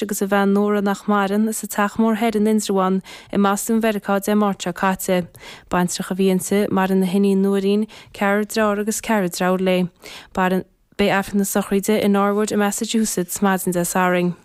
Agus a bhean Nóra nach maireann, sa Teach Mór Thoir in Indreabhán i mBostún Mheiriceá Dé Máirt seo caite. Baintreach a bhí inti, maireann a hiníon Nóirín, ceathrar dearthár agus ceathrar deirfiúr léi. Beidh Aifreann na sochraide i Norwood i Massachusetts maidin Dé Sathairn.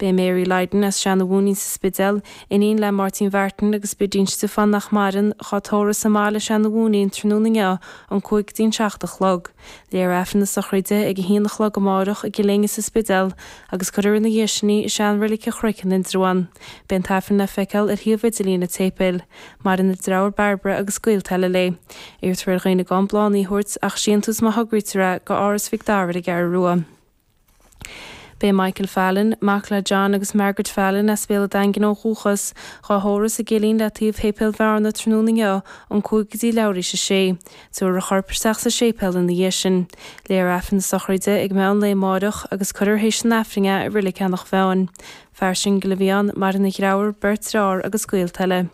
B'é Mary Lydon as Seanadh Mhúinín sa Spidéal, iníon le Máirtín Mhartin agus Bidín Stiofán nach maireann, dhá tórramh sa mbaile i Seanadh Mhúinín tráthnóna inniu ón 5 go dtí an 7 a chlog. Léifear Aifreann na sochraide ag a haon a chlog amárach i gCill Éinne sa Spidéal agus cuirfear ina dhiaidh sin í i seanreilig an Chnoic in Indreabhán. Beidh an t-aifreann le feiceáil ar shuíomh idirlín an tséipéil. Maireann a deartháir Bairbre agus gaolta eile léi. Iarrtar ar dhaoine gan bláthanna a thabhairt ach síntiús má thograítear é go Áras Mhic Dara ar an gCeathrú Rua. B'é Michael Fallon, mac le John agus Margaret Fallon as Béal an Daingin ó dhúchas, dhá thórramh sa gCillín le taobh Shéipéal Bhearna tráthnóna inniu ón 5 go dtí leathuair théis a sé. Tabharfar a chorp isteach sa séipéal ina dhiaidh sin. Léifear Aifreann na sochraide ag meán lae amáireach agus cuirfear théis an Aifrinn é i Reilig Eanach Mheáin. Fear singil a bhí ann, maireann a dheartháir, beirt dearthár agus gaolta eile.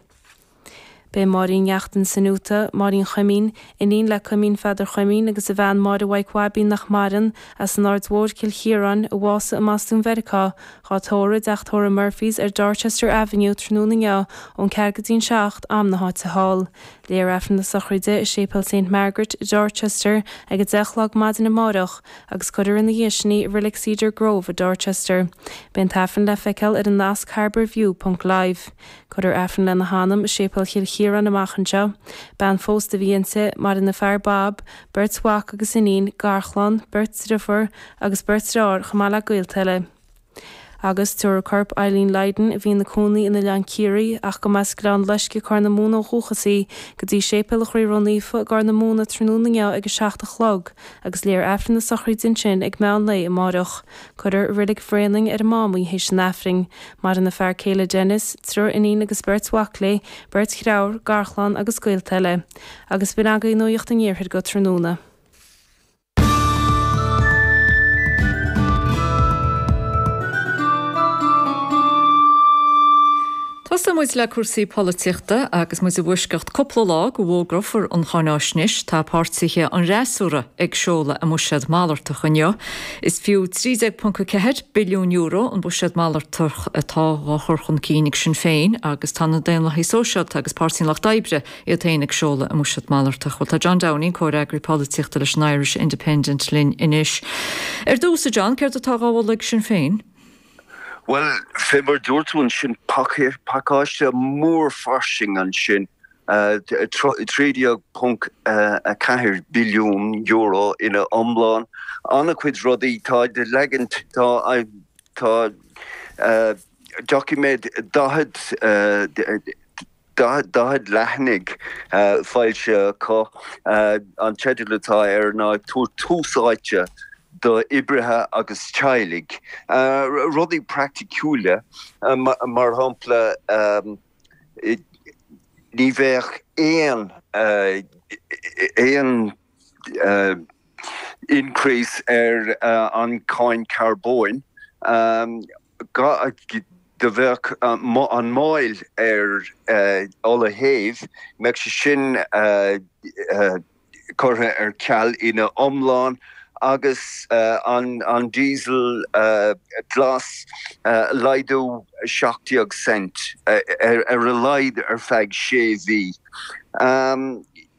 B'é Máirín Neachtain san Utah, Máirín Chuimín, iníon le Cuimín Pheadair Chuimín agus a bhean Máire Mhaidhc Bhaibín nach maireann, as an Aird Mhóir, Cill Chiaráin, a bhásaigh i mBostún Mheiriceá, dhá tórramh i dteach tórraimh Murphy's ar Dorchester Avenue tráthnóna inniu ón 4 go dtí an 7, am na háite thall. Léifear Aifreann na sochraide i Séipéal Saint Margaret i Dorchester ag 10 a chlog maidin amáireach agus cuirfear ina dhiaidh sin í i Reilig Cedar Grove i Dorchester. Beidh an t-aifreann le feiceáil ar an nasc harbourview ponc live. Cuirfear Aifreann lena hanam i Séipéal Chill Chiaráin amach anseo. Bean phósta a bhí inti, maireann a fear Bob, beirt mhac agus iníon, garchlann, beirt driofúr agus beirt dearthár chomh maith le gaolta eile. Agus tabharfar corp Eileen Lydon, a bhí ina cónaí in Oileán Ciarraí ach go mb'as Gleann Loisce, Corr na Móna ó dhúchas í, go dtí Séipéal an Chroí Ró-Naofa i gCorr na Móna tráthnóna inniu ag 7 a chlog agus léifear Aifreann na sochraide ansin ag meán lae amáireach. Cuirfear i Reilig Bhréanainn ar an Mám í théis an Aifrinn. Maireann a fear céile Denis, triúr iníon agus beirt mhac léi, beirt dhreabhar, garchlann agus gaolta eile. Agus b'in agaibh Nuacht an Iarthair go tráthnóna. Tosóidh muid le cúrsaí polaitíochta agus muid i bhfoisceacht cúpla lá go bhfógrófar an cháináisnéis. Tá páirtithe an fhreasúra ag seoladh a mbuiséad malartach inniu. Is fiú €13.4 billiún an buiséad malartach atá á chur chun cinn ag Sinn Féin agus tá na Daonlathaigh Sóisialta agus Páirtí an Lucht Oibre iad féin ag seoladh a mbuiséad malartach. Bhuel tá John Downey, comhfhreagraí polaitíochta leis an Irish Independent linn anois. Ar dtús, a John, céard atá á mholadh ag Sinn Féin? Bhuel, fé mar dúirt tú ansin, pacáiste mór fairsing ansin, €13.4 billiún ina iomlán. An-chuid rudaí, tá leagan, tá, tá doiciméad 40, 40 leathanaigh foilsithe acu. An teideal atá air ná Ag Tabhairt Tús Áite d'Oibrithe agus Teaghlaigh. Rudaí praiticiúla, mar shampla, ní bheadh aon aon increase ar an cháin carbóin. Do bheadh an máil ar ola shéimh, mbeadh sé sin curtha ar ceal ina iomlán agus an diesel glas, laghdú 17 cent ar a laghad ar feadh sé mhí.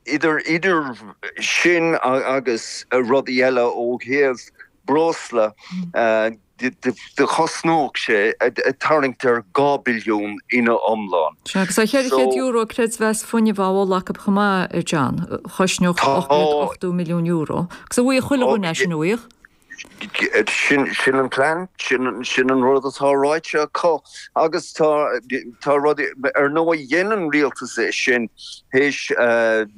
Idir idir sin agus rudaí eile ó thaobh breosla, do chosnódh sé tarraingt ar 2 billiún ina iomlán. Sea, agus tá €400 creidmheas fuinnimh á mholadh acu chomh maith, a John, a chosnódh €880 milliún. Agus an bhfaighidh chuile dhuine é sin, an bhfaighidh? Sin, sin an plean, sin, sin an rud atá ráite acu. Agus tá, tá rudaí, ar ndóigh dhein an rialtas é sin théis an,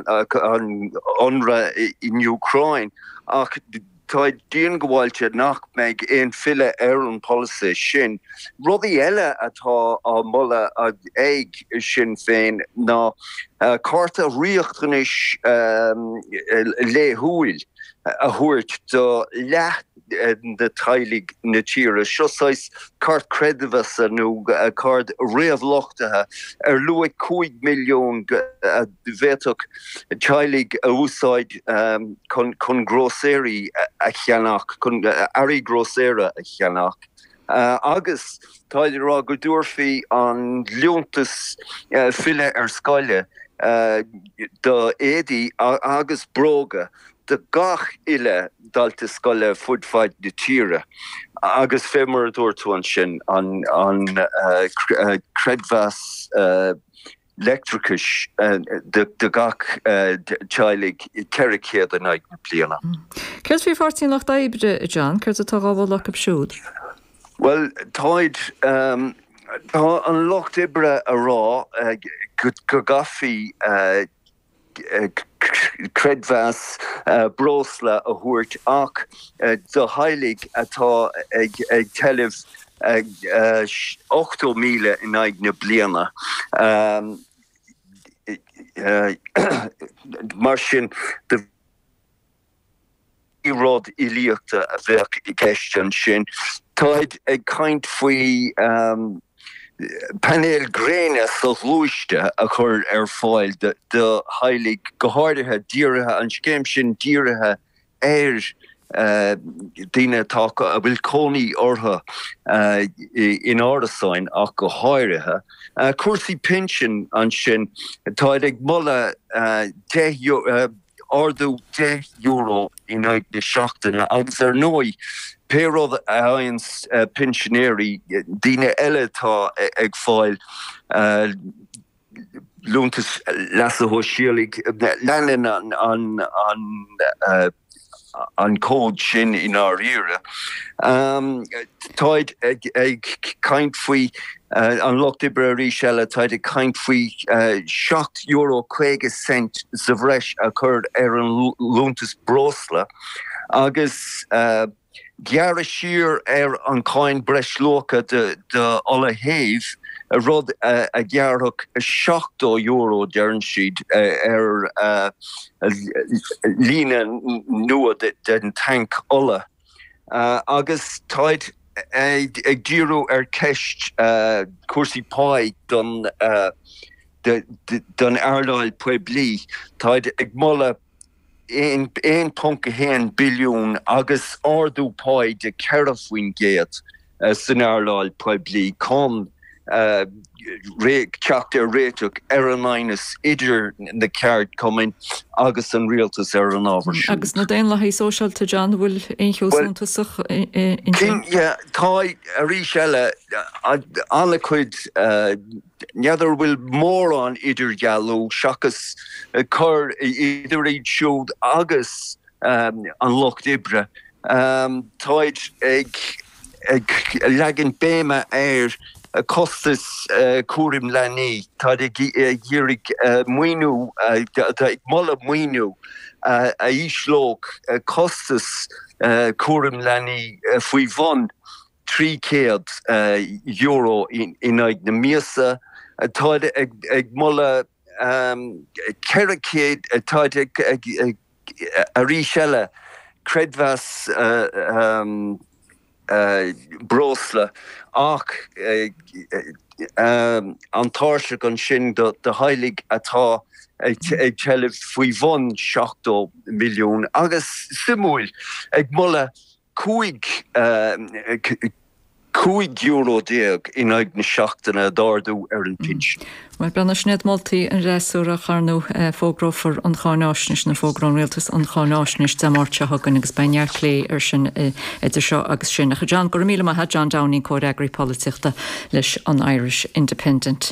an ionradh in Úcráin ach tá diongbháilte nach mbeidh aon filleadh ar an pholasaí sin. Rudaí eile atá á moladh ag Sinn Féin ná cárta riachtanais laethúil a thabhairt do leath de teaghlaigh na tíre. Seo saghas cairt creidmheasa nó cárta réamhluchtaithe ar luach 5 milliún a bhféadfadh teaghlaigh a úsáid chun grósaeirí a cheannach, chun earraí grósaera a cheannach. Agus táid ag rá go dtabharfaí an liúntas filleadh ar scoile do éadaí agus bróga do gach uile dalta scoile fud fad na tíre agus fé mar a dúirt tú ansin, an creidmheas leictreachais do gach teaghlaigh 400 in aghaidh na bliana. Céard faoi Pháirtí an Lucht Oibre, a John? Céard atá dhá mholadh acu siúd? Bhuel, táid, tá an Lucht Oibre a rá go gcaithfí creidmheas breosla a thabhairt ach do theaghlaigh atá ag tuilleamh 80,000 in aghaidh na bliana. Mar sin de. Ní rud uilíochta a bheadh i gceist ansin. Táid ag caint faoi painéil gréine soghluaiste a chur ar fáil do theaghlaigh, go háirithe dírithe, an scéim sin dírithe ar daoine atá, a bhfuil cónaí orthu in árasáin ach go háirithe. Cúrsaí pinsin ansin, táid ag moladh 10, ardú €10 in aghaidh na seachtaine agus ar ndóigh pé rud a fhaigheann pinsinéirí, daoine eile atá ag fáil liúntas leasa shóisialaigh, leanann an an cód sin i ndáiríre. Táid ag caint faoi, an Lucht Oibre arís eile, táid ag caint faoi €7.50 sa bhreis a chur ar an liúntas breosla agus gearradh siar ar an cháin breisluacha do ola shéimh, rud a ghearrfadh €70, deireann siad, ar líne nua den tanc ola. Agus táid ag díriú ar cheist cúrsaí páí don earnáil poiblí. Táid ag moladh 1.1 billiún agus ardú páí de 4% san earnáil poiblí chun teacht ar réiteach ar an aighneas idir na ceardchumainn agus an rialtas ar an ábhar siúd. Agus na Daonlathaigh Sóisialta, John, an bhfuil aon cheo suntasach ansin? Tá, arís eile, an-chuid N'fheadar an bhfuil mórán idirdhealú seachas cur idir iad siúd agus an Lucht Oibre. Táid ag leagan béime ar chostas cúraim leanaí. Táid ag iarraidh maoiniú, ag moladh maoiniú a ísleodh costas cúraim leanaí faoi bhun €300 in aghaidh na míosa. Táid ag moladh 400, táid ag, arís eile, creidmheas breosla ach an tairseach ansin do theaghlaigh atá ag tuilleamh faoi bhun 70 milliún agus, suimiúil, ag moladh €15 in aghaidh na seachtaine d'ardú ar an bpinsean. Bhuel, breathnaigh, sin iad moltaí an fhreasúra ach ar ndóigh fógrófar an cháináisnéis nó fógróidh an Rialtas an cháináisnéis Dé Máirt seo chugainn agus beidh neart plé ar sin idir seo agus sin. Ach a John, go raibh míle maith a't, John Downing, Comhfhreagraí Polaitíochta leis an Irish Independent.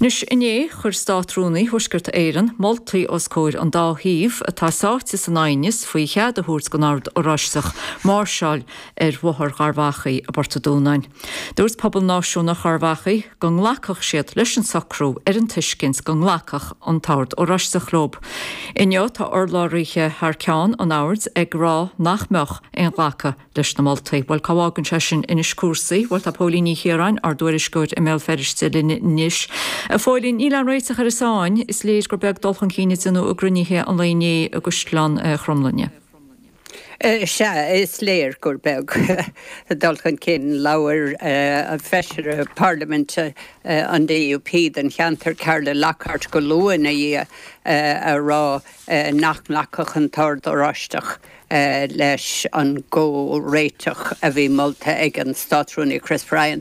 Anois, inné, chuir Státrúnaí Thuaisceart Éireann moltaí os comhair an dá thaobh atá sáite san aighneas faoi chead a thabhairt don Ord Oráisteach máirseáil ar Bhóthar Gharbh Achaidh i bPort an Dúnáin. Dúirt pobal náisiúnach Gharbh Achaidh go nglacfadh siad leis an socrú ar an tuiscint go nglacfadh an tOrd Oráisteach leo. Inniu tá urlabhraithe thar ceann an Oird ag rá nach mbeadh aon ghlacadh leis na moltaí. Bhuel, cá bhfágann sé sin anois cúrsaí? Bhuel, tá Póilín Ní Chiaráin, ár dtuairisceoir i mBéal Feirste linn anois. A Phóilín, níl aon réiteach ar an sáinn. Is léir gur beag dul chun cinn a déanadh i gcruinnithe an lae inné i gCaisleán Chromghlinne. Sea, is léir gur beag dul chun cinn. Labhair Feisire Parlaiminte an DUP don cheantar, Carla Lockhart, go luath ina dhiaidh a rá nach nglacfadh an tOrd Oráisteach. leis an gcomhréiteach a bhí molta ag an Státrúnaí Chris Bryant.